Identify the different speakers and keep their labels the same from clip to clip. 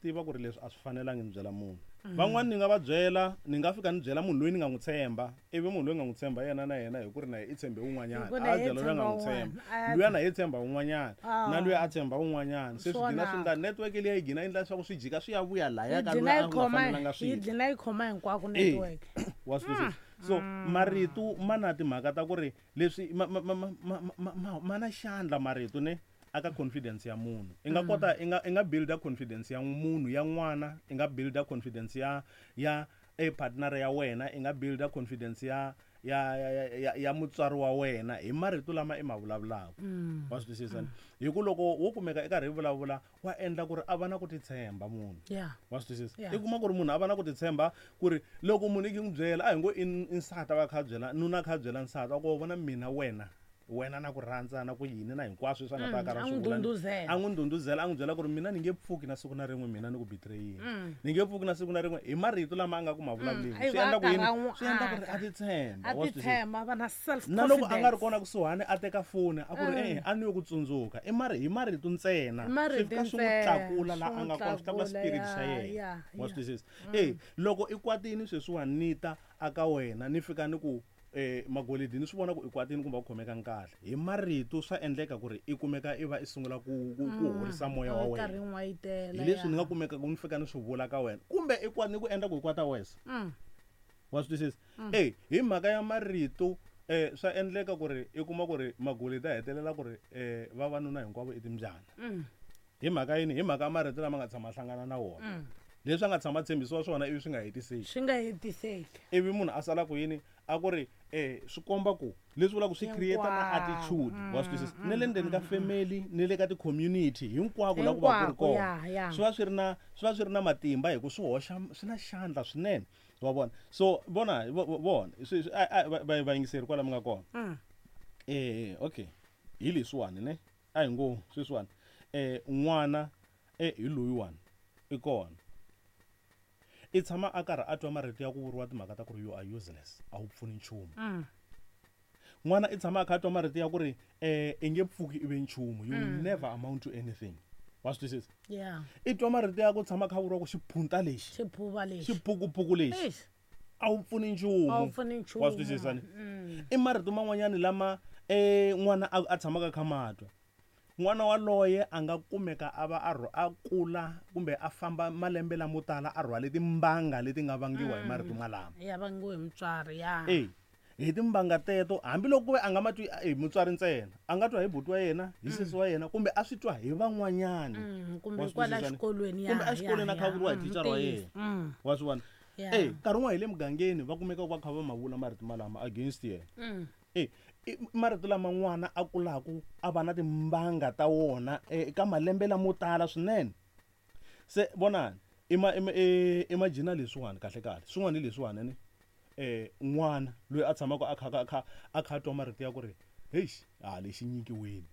Speaker 1: tiva ku ri leswi a swi fanelangi ni byela munhu. Van'wani ni nga va byela, ni nga fika ni byela munhu loyi ni nga n'wi tshemba, ivi munhu loyi ni nga n'wi tshemba yena na yena hi ku ri na yena i tshembe un'wanyana,
Speaker 2: Hi ku
Speaker 1: a
Speaker 2: na
Speaker 1: ya
Speaker 2: yena
Speaker 1: byela loyi a nga n'wi
Speaker 2: tshemba
Speaker 1: tshemba,
Speaker 2: un'wana, a ya
Speaker 1: luya na yena i tshemba un'wanyana, na
Speaker 2: Ah.
Speaker 1: luya a tshemba un'wanyana. Se swi
Speaker 2: Swona.
Speaker 1: gina swi endla network liya yi gina yi endla leswaku swi jika swi ya vuya laya
Speaker 2: Yi
Speaker 1: ka loyi
Speaker 2: dlina
Speaker 1: a
Speaker 2: yi
Speaker 1: nga
Speaker 2: khoma
Speaker 1: fanelanga
Speaker 2: yi
Speaker 1: swi twa.
Speaker 2: dlina yi khoma hinkwako
Speaker 1: E,
Speaker 2: network.
Speaker 1: wa swi twisisa? So marito ma na timhaka ta ku ri leswi ma ma ma ma ma ma ma ma na xandla marito ne aka confidence ya munhu. I nga kota i nga i nga builder confidence ya munhu ya n'wana, i nga builder confidence ya ya e partner ya wena, i nga builder confidence ya ya ya ya ya, ya mutswari wa wena hi marito lama i ma vulavulaka. Wa swi twisisa? Hi ku loko wo kumeka i karhi i vulavula wa endla ku ri a va na ku titshemba munhu. Wa swi twisisa? I kuma ku ri munhu a va na ku titshemba ku ri loko munhu i n'wi byela, a hi ngo i nsati a va a kha a byela, nuna a kha a byela nsati a ku wa vona mina wena, wena na ku rhandza na ku yini na hinkwaswo leswi a nga ta karhi a
Speaker 2: A
Speaker 1: swi
Speaker 2: n'wi
Speaker 1: vula ni-
Speaker 2: ndhundhuzela.
Speaker 1: a n'wi ndhundhuzela, a n'wi byela ku ri mina ni nge pfuki na siku na rin'we mina ni ku betrayini. Ni nge pfuki na siku na rin'we hi marito lama a nga ku ma vulavuleni.
Speaker 2: A
Speaker 1: Swi
Speaker 2: va
Speaker 1: endla ku
Speaker 2: karhi
Speaker 1: yini?
Speaker 2: a n'wi
Speaker 1: Swi endla ku ri a
Speaker 2: aka.
Speaker 1: titshemba,
Speaker 2: A
Speaker 1: wa swi twisisa?
Speaker 2: titshemba, a va na self
Speaker 1: Na loko a nga ri
Speaker 2: confidence.
Speaker 1: kona kusuhani a teka foni a ku ri e-e a ni yo ku tsundzuka. I mari hi marito ntsena.
Speaker 2: Hi marito
Speaker 1: Swi fika swi n'wi
Speaker 2: ntsena,
Speaker 1: tlakula laha
Speaker 2: swi
Speaker 1: a
Speaker 2: n'wi
Speaker 1: nga kona, swi tlakula
Speaker 2: tlakula,
Speaker 1: spirit xa
Speaker 2: ya,
Speaker 1: yena.
Speaker 2: ya,
Speaker 1: Wa
Speaker 2: ya.
Speaker 1: swi twisisa? E loko i kwatini sweswiwani ni ta aka wena ni fika ni ku Magolidi ni swi vona ku i kwatini kumbe a ku khomekangi kahle. Hi marito swa endleka ku ri i kumeka i va i sungula ku ku ku horisa moya wa
Speaker 2: A
Speaker 1: wena.
Speaker 2: karhi n'wayitela,
Speaker 1: Hi leswi ni
Speaker 2: ya.
Speaker 1: nga kumeka ku ni fika ni swi vula ka wena kumbe i ni ku endla ku i kwata wesa. Wa swi twisisa? E hi mhaka ya marito swa endleka ku ri i kuma ku ri Magolidi a hetelela ku ri vavanuna hinkwavo i timbyana. Hi mhaka yini? Hi mhaka ya marito lama nga tshama hlangana na wona. Leswi a nga tshama tshembisiwa swona ivi swi nga hetiseki.
Speaker 2: Swi nga hetiseki.
Speaker 1: Ivi munhu a sala ku yini? A ku ri swi komba ku leswi vulaka swi create na attitude, wa swi twisisa? Ne le ndzeni ka family, ne le ka ti-community hinkwako la ku va ku ri
Speaker 2: Hinkwako,
Speaker 1: kona.
Speaker 2: ya, ya.
Speaker 1: Swi va swi ri na, swi va swi ri na matimba hi ku swi hoxa, swi na xandla swinene. Wa vona? So vona, vona, swi, swi, a, a, va, va, vayingiseri kwala mi nga kona. Okay. Hi leswiwani ne? A hi ngo sweswiwani. N'wana hi loyiwani i kona. I tshama a karhi a twa marito ya ku vuriwa timhaka ta ku ri you are useless, a wu pfuni nchumu. N'wana i tshama a kha a twa marito ya ku ri i nge pfuki i ve nchumu, you will never amount to anything. Wa swi twisisa? I twa marito ya ku tshama kha vuriwa ku xiphunta lexi,
Speaker 2: Xiphuva lexi.
Speaker 1: Xiphukuphuku lexi.
Speaker 2: Eish.
Speaker 1: A wu pfuni nchumu.
Speaker 2: A wu pfuni nchumu.
Speaker 1: Wa swi twisisa ni? I marito man'wanyani lama n'wana a tshamaka kha matwa. N'wana waloye a nga kumeka a va a a kula kumbe a famba malembe lamo tala a rhwale timbanga leti nga vangiwa hi marito malama.
Speaker 2: Ya vangiwe hi mutswari, ya.
Speaker 1: E, hi timbanga teto, hambiloko ku ve a nga matwi hi mutswari ntsena, a nga twa hi buti wa yena, hi sesi wa yena, kumbe a swi twa hi van'wanyani.
Speaker 2: Kumbe
Speaker 1: Wa swi
Speaker 2: kwala
Speaker 1: twisisa ni?
Speaker 2: xikolweni, ya,
Speaker 1: Kumbe exikolweni
Speaker 2: ya,
Speaker 1: a kha vuriwa hi
Speaker 2: ya.
Speaker 1: thicara wa yena. Wa swi vona? E, nkarhi wun'wana hi le mugangeni va kumeka va kha va ma vula marito malama against yena. E, i marito lama n'wana a kulaku a va na timbanga ta wona eka malembe lamo tala swinene. Se vonani, imagine leswiwani kahle kahle. Swin'wana hi leswiwani ne? N'wana loyi a tshamaka a kha, a kha, a kha a twa marito ya ku ri, heish, a lexi nyikiweni.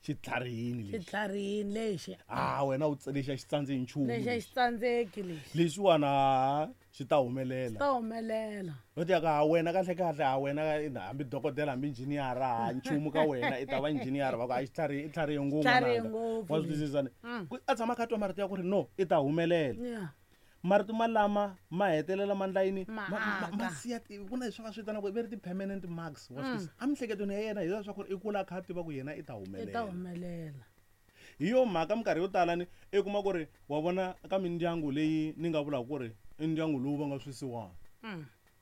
Speaker 1: Xi tlharihini lexi.
Speaker 2: Xi tlharihini lexi.
Speaker 1: A wena u lexi a xi tsandzi hi nchumu
Speaker 2: Lexi a xi
Speaker 1: lexi.
Speaker 2: tsandzeki lexi.
Speaker 1: Lexiwani a xi ta humelela.
Speaker 2: Xi ta humelela.
Speaker 1: Va ti ya ka, ha wena kahle kahle, ha wena ka, hambi dokodela, hambi injhiniyara, ha nchumu ka wena, i ta va injhiniyara, va ku, ha xi tlharihi, i tlharihe ngopfu
Speaker 2: Tlharihe
Speaker 1: n'wananga.
Speaker 2: ngopfu
Speaker 1: Wa swi
Speaker 2: lexi.
Speaker 1: twisisa ni? Ku a tshama a kha a twa marito ya ku ri no, i ta humelela. Marito malama ma hetelela ma ndla yini?
Speaker 2: Ma
Speaker 1: Ma
Speaker 2: aka.
Speaker 1: siya ti, ku na leswi va swi vitanaka va ri ti-permanent marks, wa swi twisisa? Emiehleketweni ya yena hi leswaku i kula a kha a tiva ku yena i ta
Speaker 2: I ta
Speaker 1: humelela.
Speaker 2: humelela.
Speaker 1: Hi yo mhaka minkarhi yo tala ni i kuma ku ri wa vona ka mindyangu leyi ni nga vulaka ku ri i ndyangu lowu va nga swisiwana.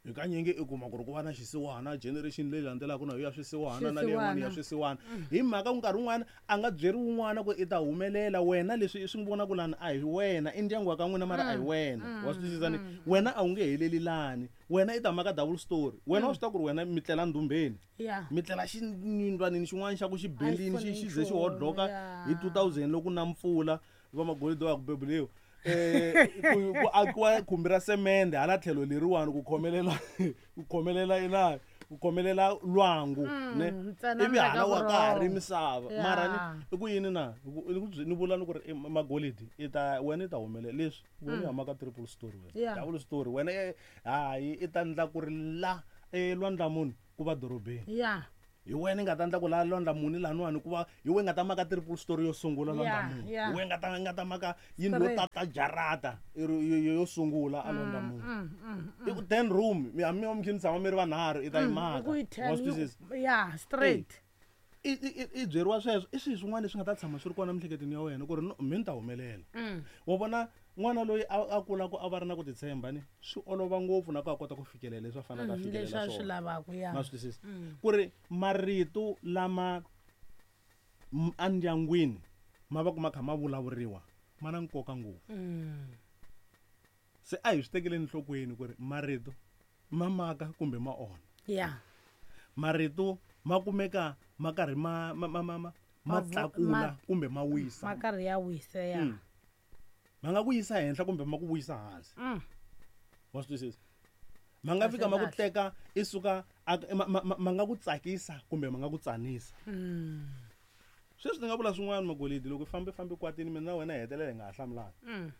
Speaker 1: Hi kanyingi i kuma ku ri ku va na xisiwana, generation leyi landzelaka na yo ya swisiwana, na leyi yin'wana ya
Speaker 2: Swisiwana.
Speaker 1: swisiwana. Hi mhaka nkarhi wun'wana a nga byeriwi wun'wana ku i ta humelela wena, leswi i swi vonaka lani a hi wena, i ndyangu wa ka n'wina mara a hi wena. Wa swi twisisa ni? Wena a wu nge heleli lani, wena i ta maka double story. Wena wa swi tiva ku ri wena mi tlela ndumbeni. Mi tlela xiyindlwanini xin'wana xa ku xi
Speaker 2: A xi
Speaker 1: bendini,
Speaker 2: pfuni
Speaker 1: xi ze xi
Speaker 2: nchumu,
Speaker 1: hodloka hi 2000 loko na mpfula, va magolidi wa ku bebuliwa. Ku akiwa khumbi ra semende hala tlhelo leriwani ku khomelela, ku khomelela ina, ku khomelela lwangu, ne?
Speaker 2: Ntsena
Speaker 1: Ivi hala wa ka ha ri
Speaker 2: vurhongo.
Speaker 1: misava. Mara ni, i ku yini na? I ku, i ku byi, ni vula ni ku ri, Magolidi, i ta, wena i ta humelela leswi, wena i huma ka triple story wena. Double story, wena, hayi, i ta ndla ku ri la, lwandlamuni ku va dorobeni. Hi wena i nga ta endla ku laha Londla muni laniwani ku va hi wena i nga ta maka triple story yo sungula Londla muni. Hi wena i nga ta maka yindlu yo tata jarata yo sungula a Londla muni. I ku 10 room mi hambi mi va mi kha mi tshama mi ri vanharhu i ta yi maka.
Speaker 2: Ku yi
Speaker 1: Wa swi twisisa?
Speaker 2: Ya, straight.
Speaker 1: I byeriwa sweswo i swilo swin'wana leswi nga ta tshama swi ri kona emiehleketweni ya wena ku ri no mi ni ta humelela. Wa vona n'wana loyi a kulaka a va ri na ku titshemba ni swi olova ngopfu na ku a kota ku fikelela leswi a faneleke a fikelela
Speaker 2: Leswi a swi
Speaker 1: swona.
Speaker 2: lavaka, ya.
Speaker 1: Ma swi twisisa? Ku ri marito lama endyangwini ma va ku ma kha ma vulavuriwa ma na nkoka ngopfu. Se a hi swi tekeleni enhlokweni ku ri marito ma maka kumbe ma onha. Marito ma kumeka ma karhi ma tlakula kumbe ma wisa.
Speaker 2: Ma karhi ya wisa, ya.
Speaker 1: Ma nga ku yisa henhla kumbe ma ku vuyisa hansi. Wa swi twisisa? Ma nga fika ma ku teka i suka ma nga ku tsakisa kumbe ma nga ku tsanisa. Sweswi ni nga vula swin'wana Magolidi, loko fambe fambe kwatini mina na wena hi hetelela hi nga ha hlamulani.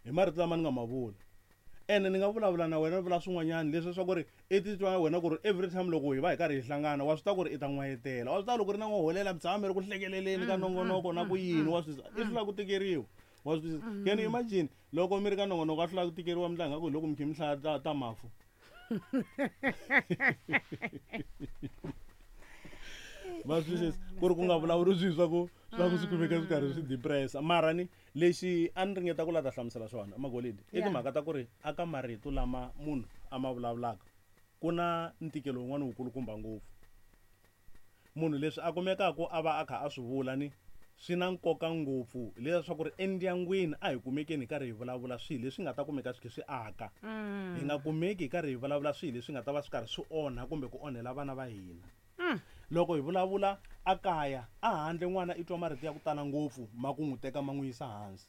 Speaker 1: Hi marito lama ni nga ma vula. Ene ni nga vulavula na wena vula swin'wanyana leswi swa ku ri i titwa wena ku ri every time loko hi va hi karhi hi hlangana wa swi tiva ku ri i ta n'wayitela. Wa swi tiva loko ri na n'waholela mi tshama mi ri ku hlekeleleni ka nongonoko na ku yini, wa swi twisisa? I hlula ku tikeriwa. Wa swi twisisa? Can you imagine loko mi ri ka nongonoko a hlula ku tikeriwa mi tlanga ku hi loko mi kha mi hlaya ta mafu. Va swi twisisa? Ku ri ku nga vulavuri swilo swa ku swi kumeka swi karhi swi depressa. Mara ni lexi a ni ringeta ku la ta hlamusela xona Magolidi i timhaka ta ku ri aka marito lama munhu a ma vulavulaka ku na ntikelo wun'wana wukulukumba ngopfu. Munhu leswi a kumekaka a va a kha a swi vula ni swi na nkoka ngopfu leswaku ri endyangwini a hi kumekeni hi karhi hi vulavula swilo leswi nga ta kumeka swi kha swi aka. Hi nga kumeki hi karhi hi vulavula swilo leswi nga ta va swi karhi swi onha kumbe ku onhela vana va hina. Loko hi vulavula a kaya, a handle n'wana i twa marito ya ku tala ngopfu ma ku n'wi teka ma n'wi yisa hansi.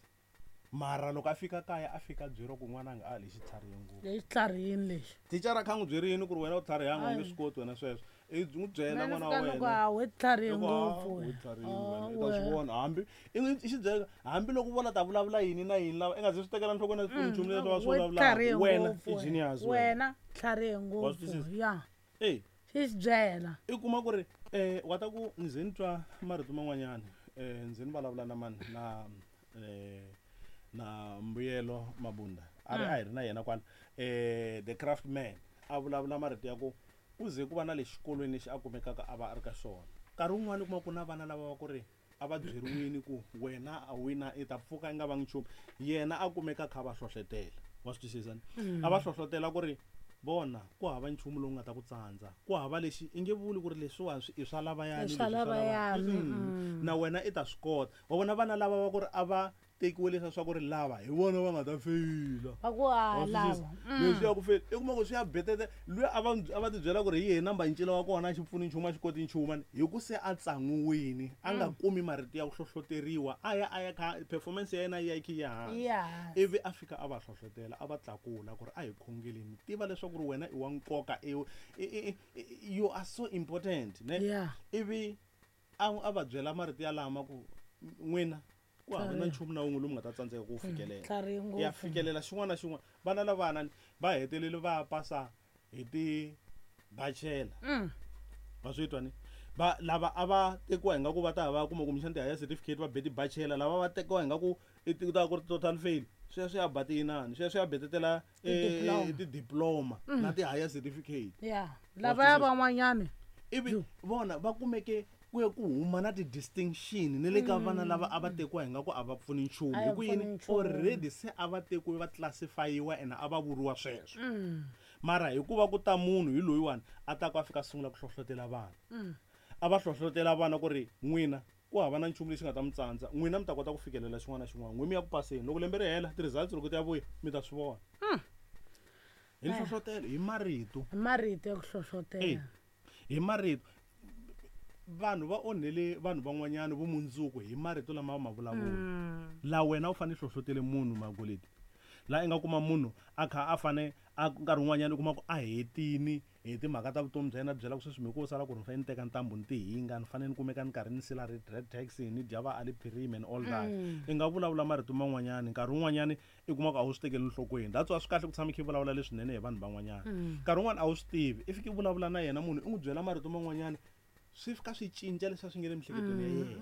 Speaker 1: Mara loko a fika kaya a fika a byeriwa ku n'wananga a lexi tlharihile ngopfu.
Speaker 2: Lexi tlharihile lexi.
Speaker 1: Thicara kha n'wi byerini ku ri wena u tlharihanga u nge swi koti wena sweswo. I n'wi byela
Speaker 2: Mina
Speaker 1: n'wana wa
Speaker 2: ni fika ni ku,
Speaker 1: wena.
Speaker 2: a we tlharihe
Speaker 1: I ku, a,
Speaker 2: ngopfu
Speaker 1: we
Speaker 2: wena.
Speaker 1: tlharihile
Speaker 2: A,
Speaker 1: wena. I ta swi
Speaker 2: wena.
Speaker 1: vona hambi i n'wi xi byela hambi loko vona ta vulavula yini na yini lava i nga ze swi tekela nhlokweni na nchumu leswi va swi
Speaker 2: We
Speaker 1: vulavulaka.
Speaker 2: tlharihe
Speaker 1: Wena
Speaker 2: ngopfu
Speaker 1: i
Speaker 2: wena.
Speaker 1: genius wena.
Speaker 2: Wena tlharihe
Speaker 1: Wa swi
Speaker 2: ngopfu.
Speaker 1: twisisa?
Speaker 2: Ya.
Speaker 1: Ey.
Speaker 2: Xi xi byela.
Speaker 1: I kuma ku ri wa ta ku ni ze ni twa marito man'wanyana ndzi ni vulavula na mani na na Mbuyelo Mabunda a ri a hi ri na yena kwala the craft man a vulavula marito ya ku ku ze ku va na le xikolweni lexi a kumekaka a va a ri ka xona. Nkarhi wun'wani u kuma ku na vana lava va ku ri a va byeriwile ku wena a wina i ta pfuka i nga vangi nchumu, yena a kumeka a kha a va hlohlotela. Wa swi twisisa ni? A va hlohlotela ku ri vona ku hava nchumu lowu nga ta ku tsandza, ku hava lexi i nge vuli ku ri leswiwani i swa lavayani,
Speaker 2: I swa
Speaker 1: leswi swa
Speaker 2: lavayani,
Speaker 1: Na wena i ta swi kota. Wa vona vana lava va ku ri a va tekiwe leswiya swa ku ri lava hi vona va nga ta feyila.
Speaker 2: Va ku, a,
Speaker 1: Wa swi twisisa?
Speaker 2: lava.
Speaker 1: Leswi ya ku feyila, i kuma ku swi ya betete. Luya a va ti byela ku ri hi yena namba ncila wa kona a xi pfuni nchumu, a xi koti nchumu, hi ku se a tsan'wiwile, a nga kumi marito ya ku hlohloteriwa, a ya a ya kha performance ya yena yi ya yi kha yi ya hansi.
Speaker 2: Yi ya hansi.
Speaker 1: Ivi a fika a va hlohlotela, a va tlakula ku ri a hi khongeleni, tiva leswaku ri wena i wa nkoka, you are so important, ne? Ivi a va byela marito ya lama ku n'wina ku hava na nchumu na wun'we lowu mi nga ta tsandzeka ku wu fikelela.
Speaker 2: Tlharihe ngopfu.
Speaker 1: Ya fikelela xin'wana na xin'wana. Vana lavana va hetelele va pasa hi ti-bachelor. Va swi twa ni? Va lava a va tekiwa hi nga ku va ta va kuma kumbexana ti-higher certificate va be ti-bachelor, lava va tekiwa hi nga ku i ti ta ku ri total fail. Sweswo swi ya ba tiyinani, sweswo swi ya betetela,
Speaker 2: Ti-diploma.
Speaker 1: ti-diploma na ti-higher certificate.
Speaker 2: Ya.
Speaker 1: Wa
Speaker 2: Lava ya
Speaker 1: swi twisisa?
Speaker 2: van'wanyani.
Speaker 1: Ivi vona va kumeke ku ya ku huma na ti-distinction ni le ka vana lava a va tekiwa hi nga ku a va pfuni nchumu.
Speaker 2: A
Speaker 1: Hi
Speaker 2: va
Speaker 1: ku yini?
Speaker 2: pfuni nchumu.
Speaker 1: Already se a va tekiwe va classify-iwa ene a va vuriwa sweswo. Mara hikuva ku ta munhu hi loyiwani a ta ku a fika a sungula ku hlohlotela vana. A va hlohlotela vana ku ri n'wina ku hava na nchumu lexi nga ta mi tsandza, n'wina mi ta kota ku fikelela xin'wana na xin'wana, n'wina mi ya ku paseni. Loko lembe ri hela ti-results loko ti ya vuya mi ta swi vona. Hi nhlohlotelo, hi marito.
Speaker 2: Hi marito ya ku hlohlotela.
Speaker 1: Ey, hi marito. Vanhu va onhele vanhu van'wanyana vumundzuku hi marito lama va ma vulavula. La wena u fanele hlohlotele munhu Magolidi. La i nga kuma munhu a kha a fane a nkarhi wun'wanyana u kuma ku a hetini hi timhaka ta vutomi bya yena, byela ku sweswi mi ku sala ku ri ni fanele ni teka ntambu ni tihinga, ni fanele ni kumeka ni karhi ni sila red taxi, ni dya va Aliphirim and all that. I nga vulavula marito man'wanyana, nkarhi wun'wanyana i kuma ku a wu swi tekeli enhlokweni. That's why swi kahle ku tshama i kha i vulavula leswinene hi vanhu van'wanyana. Nkarhi wun'wani a wu swi tivi, i fika i vulavula na yena munhu i n'wi byela marito man'wanyana. Swi fika swi cinca leswi a swi nge le miehleketweni ya yena.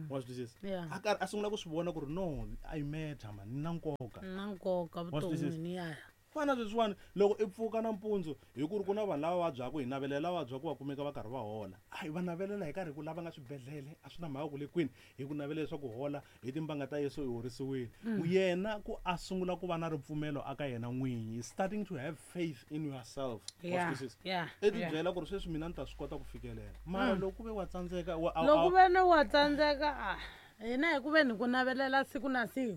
Speaker 1: Wa swi twisisa?
Speaker 2: Yeah.
Speaker 1: A karhi a sungula ku swi vona ku ri no, I matter man, ni na nkoka.
Speaker 2: Na nkoka
Speaker 1: Wa swi twisisa?
Speaker 2: vuton'wini ya.
Speaker 1: Fana sweswiwani loko i pfuka nampundzu hi ku ri ku na vanhu lava vabyaka hi navelela lava vabyaka va kumeka va karhi va hola. A hi va navelela hi karhi hi ku lava nga swibedhlele a swi na mhaka ku le kwini hi ku navelela leswaku hola hi timbanga ta Yesu i horisiwile. Yena ku a sungula ku va na ripfumelo aka yena n'winyi, starting to have faith in yourself. Wa swi twisisa? I ti byela ku ri sweswi mina ni ta swi kota ku fikelela. Mara loko ku ve wa tsandzeka, wa, a,
Speaker 2: Loko
Speaker 1: a,
Speaker 2: ve ni wa tsandzeka, a hina hi ku ve ni ku navelela siku na siku.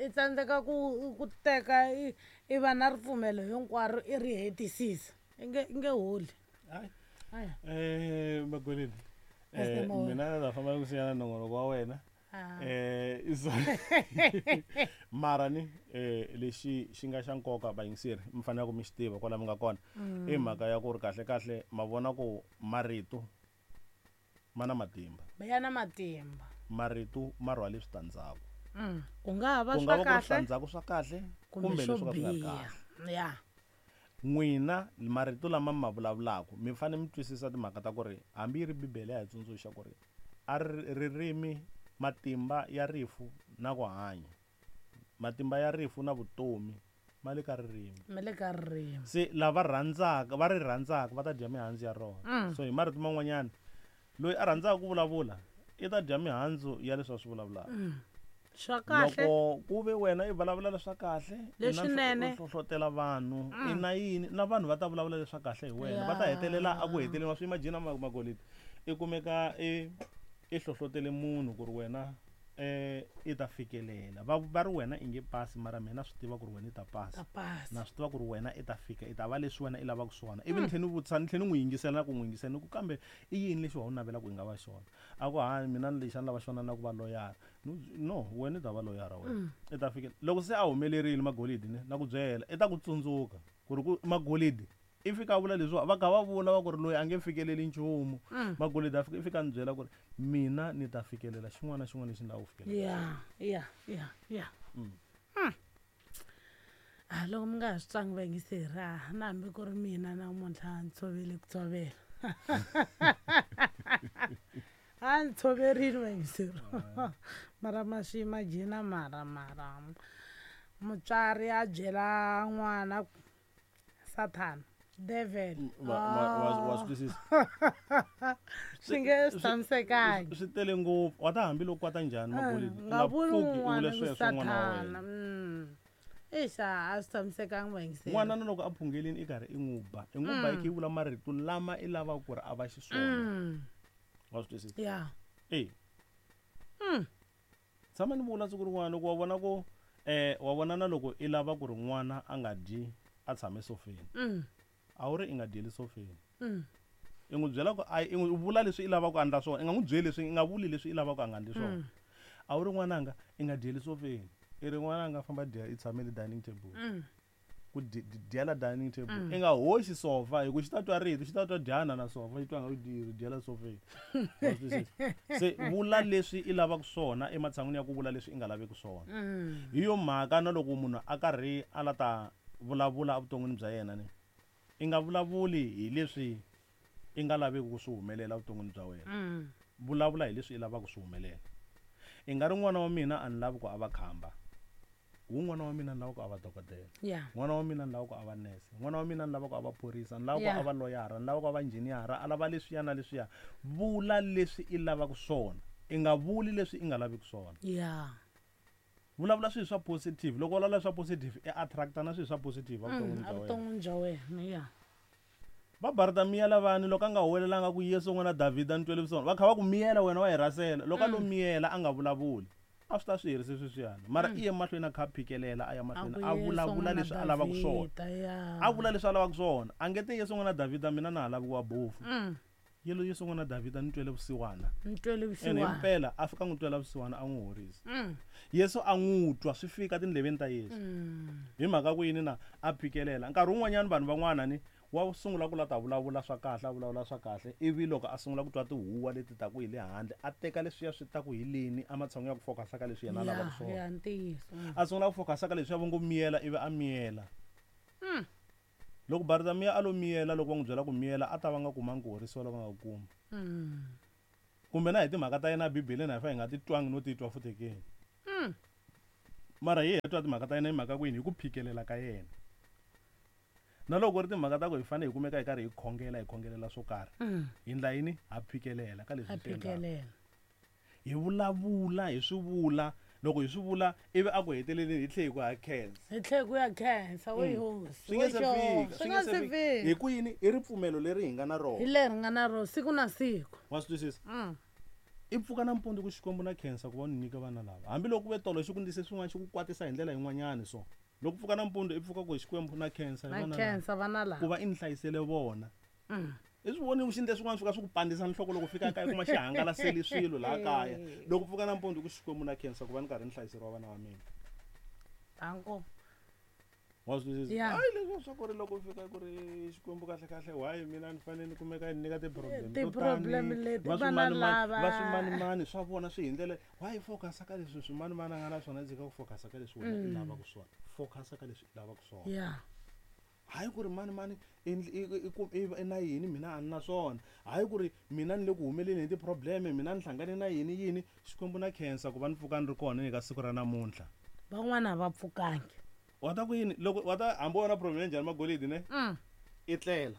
Speaker 2: I tsandzeka ku teka i va na ripfumelo hinkwaro i ri hetisisa. I nge holi.
Speaker 1: Hayi.
Speaker 2: Hayi.
Speaker 1: Magoleni.
Speaker 2: Pastor Mawa.
Speaker 1: Mina na famba ku siyana nongonoko wa wena. Mara ni lexi xi nga xa nkoka vayingiseri mi fanele ku mi xi tiva kwala mi nga kona. I mhaka ya ku ri kahle kahle ma vona ku marito ma na matimba.
Speaker 2: Ya na matimba.
Speaker 1: Marito ma rhwale switandzhaku.
Speaker 2: Ku nga ha va
Speaker 1: Ku nga
Speaker 2: swa
Speaker 1: va ku ri
Speaker 2: kahle
Speaker 1: switandzhaku swa kahle
Speaker 2: kumbe
Speaker 1: kumbe
Speaker 2: swo
Speaker 1: leswi ka swi nga ri
Speaker 2: biha.
Speaker 1: kahle.
Speaker 2: Ya.
Speaker 1: N'wina marito lama mi ma vulavulaka mi fanele mi twisisa timhaka ta ku ri hambi yi ri Bibele ya hi tsundzuxa ku ri a ririmi matimba ya rifu na ku hanya. Matimba ya rifu na vutomi ma le ka ririmi.
Speaker 2: Ma le ka ririmi.
Speaker 1: Se lava rhandzaka va ri rhandzaka va ta dya mihandzu ya rona. So hi marito man'wanyana loyi a rhandzaka ku vulavula i ta dya mihandzu ya leswi a swi vulavulaka.
Speaker 2: Swa kahle.
Speaker 1: Loko ku ve wena i vulavula leswa kahle, i na
Speaker 2: Leswinene.
Speaker 1: u hlohlotela vanhu, i na yini, na vanhu va ta vulavula leswa kahle hi wena. Va ta hetelela a ku heteleni wa swi imagine Magolidi. I kumeka i hlohlotele munhu ku ri wena i ta fikelela. Va ri wena i nge pasi, mara mina swi tiva ku ri wena i ta pasa.
Speaker 2: Ta pasa.
Speaker 1: Na swi tiva ku ri wena i ta fika, i ta va leswi wena i lavaka swona. Ivi ni tlhela ni vutisa, ni tlhela ni n'wi yingisela na ku n'wi yingisela, ni ku kambe i yini lexi wa u navelaka ku i nga va xona? A ku, ha, mina lexi a ni lava xona na ku va loyara. No, wena i ta va loyara wena. I ta fikela. Loko se a humelerile Magolidi ne, na ku byela, i ta ku tsundzuka ku ri ku Magolidi i fika a vula leswiwa, va kha va vula va ku ri loyi a nge fikeleli nchumu. Magolidi a fika, i fika a ni byela ku ri mina ni ta fikelela xin'wana na xin'wana lexi ni lavaka ku fikelela.
Speaker 2: Loko mi nga ha swi twangi vayingiseri, na hambi ku ri mina namuntlha ni tshovele ku tshovela. A ni tshoverile vayingiseri. Mara ma swi imagine mara, mara mutswari a byela n'wana Satan, devil.
Speaker 1: Wa swi twisisa?
Speaker 2: Swi nge swi tshamisekangi.
Speaker 1: Swi tele ngopfu. Wa ta hambi loko kwata njhani, Magolidi?
Speaker 2: Nga vuli
Speaker 1: Nga pfuki u
Speaker 2: un'wana
Speaker 1: vula
Speaker 2: ku
Speaker 1: sweswo n'wana wa
Speaker 2: Sathana.
Speaker 1: wena.
Speaker 2: Eish, a swi tshamisekangi vayingiseri.
Speaker 1: N'wana na loko a phungelini i karhi i n'wi ba. I n'wi ba i kha i vula marito lama i lavaka ku ri a va xiswona. Wa swi twisisa? Tshama ni vula siku rin'wana loko wa vona ku, wa vona na loko i lava ku ri n'wana a nga dyi a tshame sofeni. A wu ri i nga dyeli sofeni. I n'wi byela ku a, i n'wi vula leswi i lavaka ku endla swona. I nga n'wi byeli leswi, i nga vuli leswi i lavaka ku a nga endli swona. A wu ri n'wananga i nga dyeli sofeni. I ri n'wananga famba dya i tshame le dining table. Ku dyela dining table. I nga hoxi sofa hi ku xi ta twa rito, xi ta twa dyana na sofa, xi twa nga ku dyela sofeni. Wa swi twisisa? Se vula leswi i lavaka swona ematshan'wini ya ku vula leswi i nga laveki swona. Hi yo mhaka na loko munhu a karhi a la ta vulavula evuton'wini bya yena ni, i nga vulavuli hi leswi i nga laveki ku swi humelela evuton'wini bya wena. Vulavula hi leswi i lavaka ku swi humelela. I nga ri n'wana wa mina a ni lavi ku a va khamba. Wun'wana wa mina ni lava ku a va dokodela. N'wana wa mina ni lava ku a va nurse. N'wana wa mina ni lava ku a va phorisa, ni lava ku a va loyara, ni lava ku a va engineer, a lava leswiya na leswiya. Vula leswi i lavaka swona. I nga vuli leswi i nga laviki swona. Vulavula swilo swa positive. Loko u vulavula swa positive, i attracta na swilo swa positive evuton'wini bya wena.
Speaker 2: Evuton'wini bya wena, yeah.
Speaker 1: Va Bartamiya lavani loko a nga huwelelanga ku Yesu n'wana Davhida ni twele vusiwana, va kha va ku miyela wena wa hi rhasela. Loko a lo miyela a nga vulavuli, a swi ta swi herise sweswiyani. Mara i ye mahlweni a kha a phikelela, a ya mahlweni,
Speaker 2: A ku
Speaker 1: a
Speaker 2: Yesu
Speaker 1: vulavula
Speaker 2: n'wana
Speaker 1: leswi a lavaka swona.
Speaker 2: Davhida, ya.
Speaker 1: A vula leswi a lavaka swona. A nge te Yesu n'wana Davhida mina na ha lavi ku va bofu. Yelo Yesu n'wana Davhida ni twele vusiwana.
Speaker 2: Ni twele
Speaker 1: Ene
Speaker 2: vusiwana.
Speaker 1: himpela a fika n'wi twela vusiwana a n'wi horisa. Yesu a n'wi twa swi fika tindleveni ta Yesu. Hi mhaka ku yini na a phikelela. Nkarhi wun'wanyana vanhu van'wana ni wa sungula ku la ta vulavula swa kahle, a vulavula swa kahle, ivi loko a sungula ku twa tihuwa leti ta ku hi le handle, a teka leswiya swi ta ku hi leni ematshan'wini ya ku focus-a ka leswi yena a lavaka swona.
Speaker 2: Ya, ntiyiso.
Speaker 1: A sungula ku focus-a ka leswiya va ngo miyela, ivi a miyela. Loko Bartamiya a lo miyela loko va n'wi byela ku miyela a ta va nga kumangi ku horisiwa loko a nga ku kuma. Kumbe na hi timhaka ta yena Bibeleni a hi fa hi nga ti twangi no titwa futhi ke. Mara hi hi twa timhaka ta yena hi mhaka ku yini hi ku phikelela ka yena. Na loko ku ri timhaka ta ku hi fanele hi kumeka hi karhi hi khongela hi khongelela swo karhi. Hi ndla yini? Ha phikelela ka leswi
Speaker 2: Ha
Speaker 1: hi swi endlaka.
Speaker 2: phikelela.
Speaker 1: Hi vulavula hi swi vula loko hi swi vula ivi a ku heteleleni hi tlhe hi ku ha khensa.
Speaker 2: Hi tlhe ku ya khensa we hosi.
Speaker 1: Swi nga
Speaker 2: we
Speaker 1: se
Speaker 2: xo.
Speaker 1: fika,
Speaker 2: Swi nga se fika.
Speaker 1: Hi ku yini i ripfumelo leri hi nga na
Speaker 2: Hi
Speaker 1: rona.
Speaker 2: leri nga na rona siku na siku.
Speaker 1: Wa swi twisisa? I pfuka nampundzu ku Xikwembu na khensa ku va ni nyika vana lava. Hambiloko ku ve tolo xi ku ndlise swin'wana xi ku kwatisa hi ndlela yin'wanyana so. Loko pfuka nampundzu i pfuka ku Xikwembu na khensa hi
Speaker 2: Na
Speaker 1: vana lava.
Speaker 2: khensa vana
Speaker 1: Ku
Speaker 2: lava.
Speaker 1: va i ni hlayisele vona. I swi voni xi ndle swin'wana swi ka swi ku pandzisa nhloko loko fika kaya kuma xi hangalaseli swilo laha kaya. Loko pfuka nampundzu ku Xikwembu na khensa ku va ni karhi ni hlayiseriwa vana va mina.
Speaker 2: Danko.
Speaker 1: Wa swi twisisa?
Speaker 2: Yeah.
Speaker 1: Hayi leswiya swa ku ri loko fika ku ri Xikwembu kahle kahle why mina ni fanele ni kumeka ni nyika ti-problem to
Speaker 2: Ti-problem
Speaker 1: tani,
Speaker 2: leti
Speaker 1: va
Speaker 2: vana
Speaker 1: swimanimani,
Speaker 2: lava.
Speaker 1: va swimanimani swa vona swi hi ndlela why focus ka leswi swimanimani a nga na swona tshika ku focus ka leswi wena i lavaka swona. Focus ka leswi i lavaka swona.
Speaker 2: Yeah.
Speaker 1: Hayi ku ri mani mani i na yini mina a ni na swona. Hayi ku ri mina ni le ku humeleni hi ti-problem mina ni hlangane na yini yini. Xikwembu na khensa ku va ni pfuka ni ri kona eka siku ra namuntlha.
Speaker 2: Van'wana a va pfukangi.
Speaker 1: Wa ta ku yini loko wa ta hambi wona problem ya njhani magolidi ne? I tlela.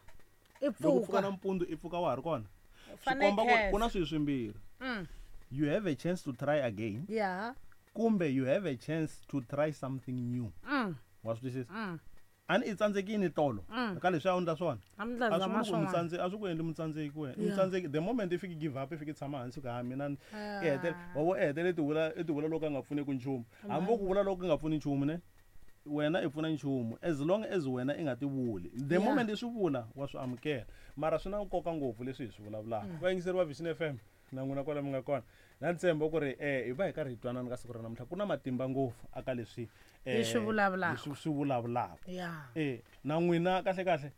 Speaker 2: I
Speaker 1: Loko pfuka
Speaker 2: pfuka.
Speaker 1: nampundzu i pfuka wa ha ri kona. Swi
Speaker 2: Fanele
Speaker 1: komba ku ku na
Speaker 2: khensa.
Speaker 1: swilo swimbirhi. You have a chance to try again.
Speaker 2: Yeah.
Speaker 1: Kumbe you have a chance to try something new. Wa swi twisisa? A ni i tsandzekile tolo ka leswi a wu endla swona.
Speaker 2: A mi ndla
Speaker 1: A swi
Speaker 2: zama
Speaker 1: vuli ku
Speaker 2: swin'wana.
Speaker 1: mutsandzeki, a swi ku endli mutsandzeki wena.
Speaker 2: Yeah.
Speaker 1: Mutsandzeki the moment i fiki give up i fiki tshama hansi ku ha mina ni i hetele wa vo i hetele i tivula i tivula loko a nga pfuneki nchumu. Hambi wo ku vula loko ku nga pfuni nchumu ne wena i pfuna nchumu as long as wena i nga ti vuli. The
Speaker 2: Yeah.
Speaker 1: moment i swi vula wa swi amukela. Mara swi na nkoka ngopfu leswi hi swi vulavulaka. Vayingiseri va Vision FM na n'wina kwala mi nga kona. Na ntshembo ku ri hi va hi karhi hi twanana ka siku ra namuntlha ku na matimba ngopfu aka leswi
Speaker 2: Hi swi vulavulaka.
Speaker 1: hi swi vulavulaka.
Speaker 2: Yeah.
Speaker 1: Na n'wina kahle kahle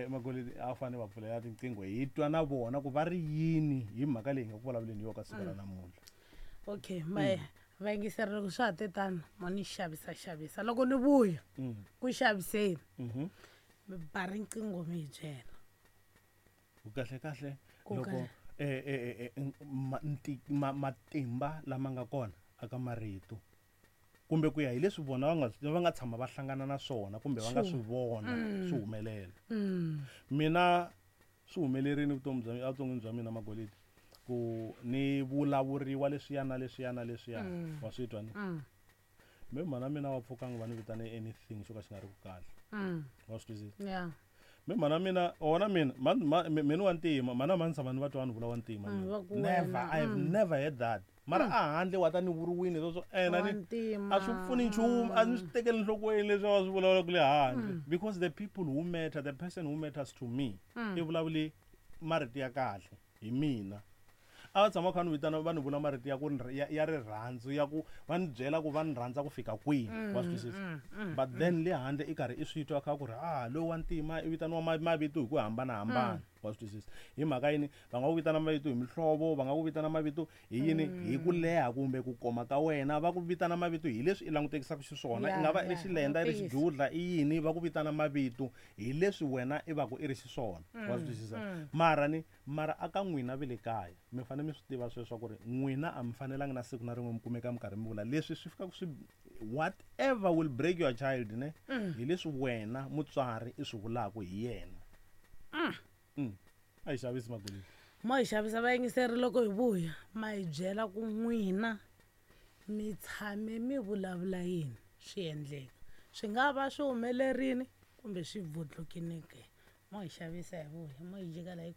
Speaker 1: Magolidi a fanele va pfulela tinqingho hi twa na vona ku va ri yini hi mhaka leyi hi nga ku vulavuleni hi yona ka siku ra namuntlha.
Speaker 2: Okay, ma vayingiseri loko swa ha te tano mo ni xavisa xavisa loko ni vuya ku xaviseni mi ba riqingho mi hi byela.
Speaker 1: Ku kahle kahle
Speaker 2: Ku
Speaker 1: loko
Speaker 2: kahle.
Speaker 1: matimba lama nga kona aka marito kumbe ku ya hi leswi vona va nga tshama va hlangana na swona kumbe va nga swi vona swi humelela. Mina swi humelerile vutomi bya evuton'wini bya mina Magolidi ku ni vulavuriwa leswiya na leswiya na leswiya wa swi twa ni. Me mhana mina wa pfukanga va ni vitane anything xo ka xi nga ri ku kahle. Wa swi twisisa?
Speaker 2: Yeah.
Speaker 1: Me mhana mina wona mina mina wa ntima mhana mhani tshama ni va twa ni vula wa ntima mina.
Speaker 2: Va ku
Speaker 1: Never,
Speaker 2: wena,
Speaker 1: I have never heard that. Mara a handle wa ta ni vuriwini sweswo ena
Speaker 2: Wa
Speaker 1: ni
Speaker 2: ntima.
Speaker 1: a swi pfuni nchumu a ni swi tekeli enhlokweni leswi va swi vulavulaka le handle. Because the people who matter, the person who matters to me i vulavule marito ya kahle hi mina. A va tshama kha ni vitana va ni vula marito ya ku ya rirhandzu ya ku va ni byela ku va ni rhandza ku fika kwihi wa swi twisisa. But then le handle i karhi i swi twa kha ku ri loyi wa ntima i vitaniwa mavito hi ku hambanahambana wa swi twisisa. Hi mhaka yini va nga ku vitana mavito hi mihlovo, va nga ku vitana mavito hi yini hi ku leha kumbe ku koma ka wena, va ku vitana mavito hi leswi i langutekisaka xiswona. I nga va i ri xilenda, i ri xidudla, i yini va ku vitana mavito hi leswi wena i va ku i ri xiswona wa swi twisisa. Mara ni mara aka n'wina ve le kaya mi fanele mi swi tiva sweswo ku ri n'wina a mi fanelangi na siku na rin'we mi kumeka mi karhi mi vula leswi swi fika swi whatever will break your child ne hi leswi wena mutswari i swi vulaka hi yena. A yi xavisi Magolidi.
Speaker 2: Mo hi xavisa vayingiseri loko hi vuya ma hi byela ku n'wina mi tshame mi vulavula yini swi endleka. Swi nga va swi humelerile kumbe swi vundlukile ke. Mo hi xavisa hi vuya mo hi jika la hi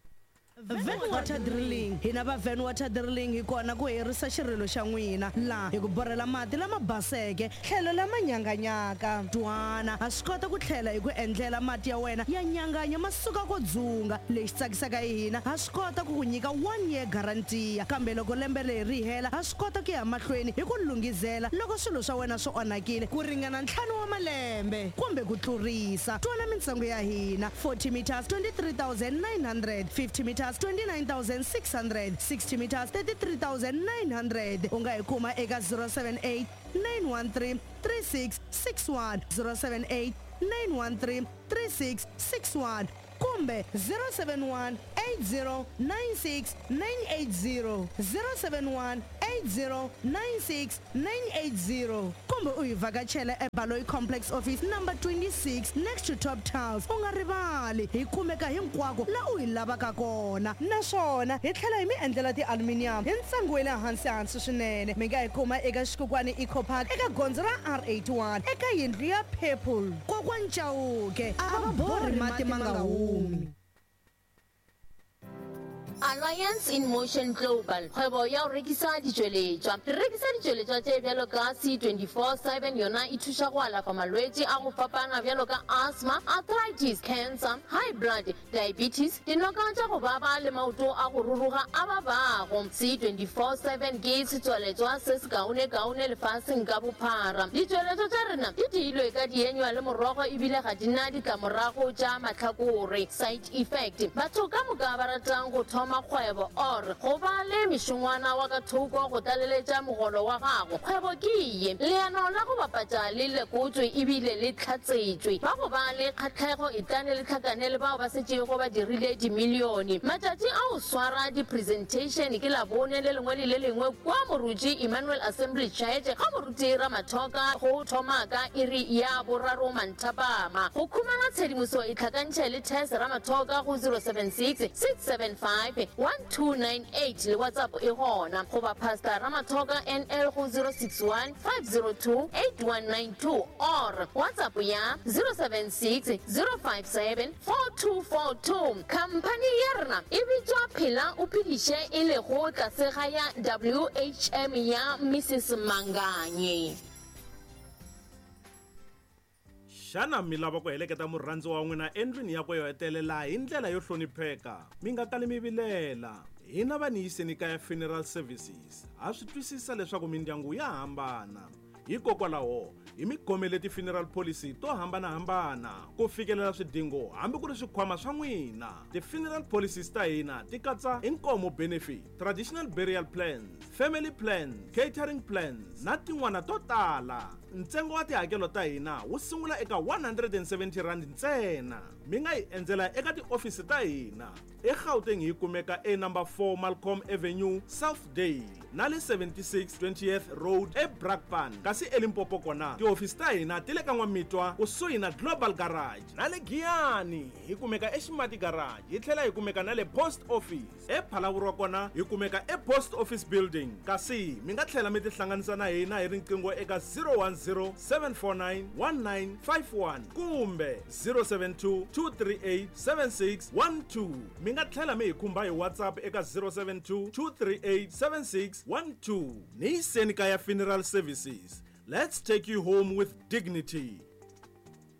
Speaker 3: Van Water Drilling. Hina va Van Water Drilling hi kona ku herisa xirilo xa n'wina laha hi ku borhela mati lama baseke tlhelo lama nyanganyaka. Twana ha swi kota ku tlhela hi ku endlela mati ya wena ya nyanganya ma suka ko dzunga. Lexi tsakisaka hi hina ha swi kota ku ku nyika 1 year guarantee kambe loko lembe leri ri hela ha swi kota ku ya mahlweni hi ku lunghizela loko swilo swa wena swi onhakile ku ringana 5 wa malembe kumbe ku tlurisa. Twana mintsengo ya hina 40 meters 23,900, 50 meters 29,600, 60 meters 33,900. U nga hi kuma eka 078 913 3661, 078 913 3661 kumbe 071 80 96 980, 071 80 96 980, kumbe u hi vhakachela eBaloyi Complex Office number 26 next to Top Tiles. U nga rivali, hi kumeka hinkwako la u hi lavaka kona, naswona hi tlhela hi mi endlela ti-aluminium hi ntsengo wa le hansi hansi swinene. Mi nga hi kuma eka Xikukwani Eco Park eka gondzo ra R81 eka yindlu ya Purple. Kokwani Chauke a va borhi mati ma nga humi.
Speaker 4: Alliance in Motion Global, kgwebo ya go rekisa ditšweletšwa. Re rekisa ditšweletšwa tše bjalo ka C24/7, yona e thuša go alafa malwetši a go fapana bjalo ka asthma, arthritis, cancer, high blood, diabetes, dinoka tša go baba le maoto a go ruruga a babago. C24/7 ke setswaletšwa se sekaonekaone lefaseng ka bophara. Ditšweletšwa tša rena di diilwe ka dienywa le morogo ebile ga di na ditlamorago tša mahlakore, side effect. Batho ka moka ba ratang go thoma kgwebo or go ba le mešongwana wa ka thoko go tlaleletša mogolo wa gago, kgwebo ke ye. Leano la go bapatša le lekotšwe ebile le hlatsetšwe. Ba go ba le kgahlego etlane le hlakane le bao ba setšego ba dirile dimilione. Matšatši a go swara di-presentation ke Labone le lengwe le le lengwe kua Moruti Emmanuel Assembly Church ga Moruti Ramathoka go thoma ka iri ya boraro manthapama. Go khumana tshedimoso itlhakantšhe le Tess Ramathoka go 076 675 1298 le WhatsApp e gona, goba Pastor Ramathoka NL go 061 502 8192 or WhatsApp ya 076 057 4242. Khamphani ya rena e bitšwa Phela o Phediše e lego tlase ga ya WHM ya Mrs Manganye.
Speaker 1: Xana mi lava ku heleketa murhandziwa wa n'wina endlwini yakwe yo hetelela hi ndlela yo hlonipheka? Mi nga kali mi vilela. Hina va Niyiseni Kaya Funeral Services ha swi twisisa leswaku mindyangu ya hambana. Hikokwalaho, hi mi khomele ti-funeral policy to hambana-hambana ku fikelela swidingo hambi ku ri swikhwama swa n'wina. Ti-funeral policies ta hina ti katsa inkomo benefit, traditional burial plans, family plans, catering plans na tin'wana to tala. Ntsengo wa tihakelo ta hina wu sungula eka R170 ntsena. Mi nga hi endzela eka tiofisi ta hina eGauteng, hi kumeka e number 4 Malcolm Avenue, Southdale, na le 76 20th Road eBrakpan, kasi eLimpopo kona tihofisi ta hina ti le ka N'wamitwa kusuhi na Global Garage, na le Giyani hi kumeka eXimati Garage, hi tlhela hi kumeka na le Post Office. ePhalaborwa kona hi kumeka ePost Office Building, kasi mi nga tlhela mi tihlanganisa na hina hi riqingho eka 010 749 1951 kumbe 072 238 7612. Mi nga tlhela mi hi khumba hi WhatsApp eka 072 238 7612. Niyiseni Kaya Funeral Services, let's take you home with dignity.